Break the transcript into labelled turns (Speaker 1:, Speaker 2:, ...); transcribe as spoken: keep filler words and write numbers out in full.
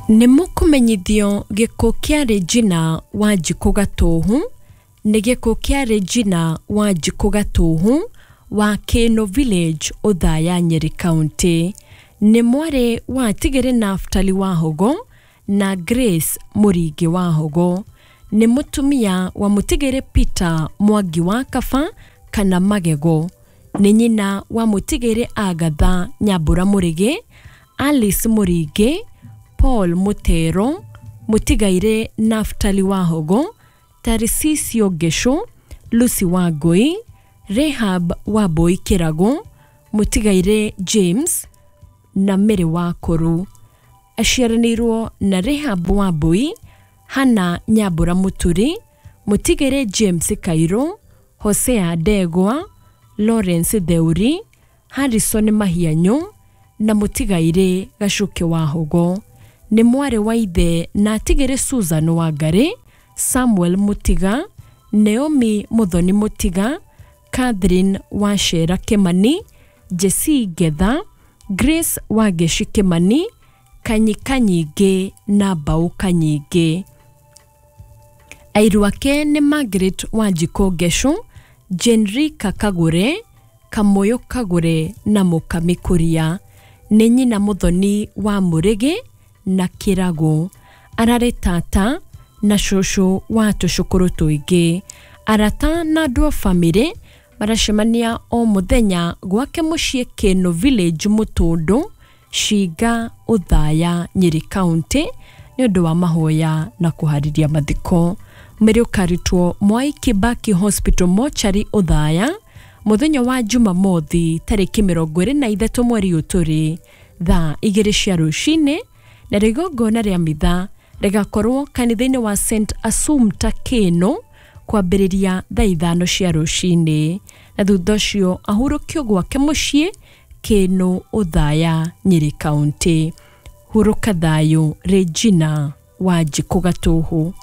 Speaker 1: Nĩ mũkũmenyithio gĩkuũ kĩa Regina Wanjikũ Gatũhu nĩ gĩkuũ kĩa Regina Wanjikũ Gatũhu wa Kĩnũ Village, Othaya, Nyeri County. Nĩ mwarĩ wa Tigĩrĩ Naftali Wahogo na Grace Mũringĩ Wahogo. Nĩ mũtumia wa Mũtigĩrĩ Peter Mwangi wa Kaba kana Magego. Nĩ nyina wa Mũtigĩrĩ Agatha Nyambura Mũrĩgĩ, Alice Mũringĩ, Paul Mutero, Mũtigairĩ Naftali Wahogo, Tarisisio Ngesho, Lucy Wangũi, Rehab Wambui Kĩrago, Mũtigairĩ James na Mary Wakũrũ. Aciaranĩirwo na Rehab Wambui, Hannah Nyambura Mũturi, Mũtigĩrĩ James Kairũ, Hosea Ndegwa, Lawrence Theuri, Harrison Mahianyũ na Mũtigairĩ Gacuke Wahogo. Nĩ mwarĩ wa ithe na atigĩrĩ Susan Wangarĩ, Samuel Mũtiga, Naomi Mũthoni Mũtiga, Catherine Wachera Kĩmani, Jessie Ngetha, Grace Wangeci Kĩmani, Kanyi Kanyingĩ na Mbaũ Kanyingĩ. Airu ake nĩ Margaret Wanjikũ Ngecu, Jenrika Kagure, Kamũyũ Kagure na Mũkami Kuria. Nĩ nyina Mũthoni wa Mũrĩgĩ na Kĩragũ. Ararĩ tata na cũcũ wa tũcũkũrũ tũingĩ. Arata na andũ a bamĩrĩ maracemania o mũthenya gwake mũciĩ Kĩnũ Village, Mũtũndũ, Cinga, Othaya, Nyeri County nĩ ũndũ wa mahoya na kũharĩria mathiko. Mwĩrĩ ũkarutwo Mwai Kibaki Hospital Mortuary, Othaya, mũthenya wa Jumamothi tarĩki mĩrongo ĩrĩ na ithatũ mweri ũyũ tũrĩ thaa igĩrĩ cia rũcinĩ, na igongona rĩa mitha rĩgakorwo kanitha-inĩ wa St Assumpta Kĩnũ kwambĩrĩria thaa ithano cia rũcinĩ, na thutha ũcio ahurũkio gwake mũciĩ Kĩnũ, Othaya, Nyeri County. Hurũka thayũ Regina Wanjikũ Gatũhũ.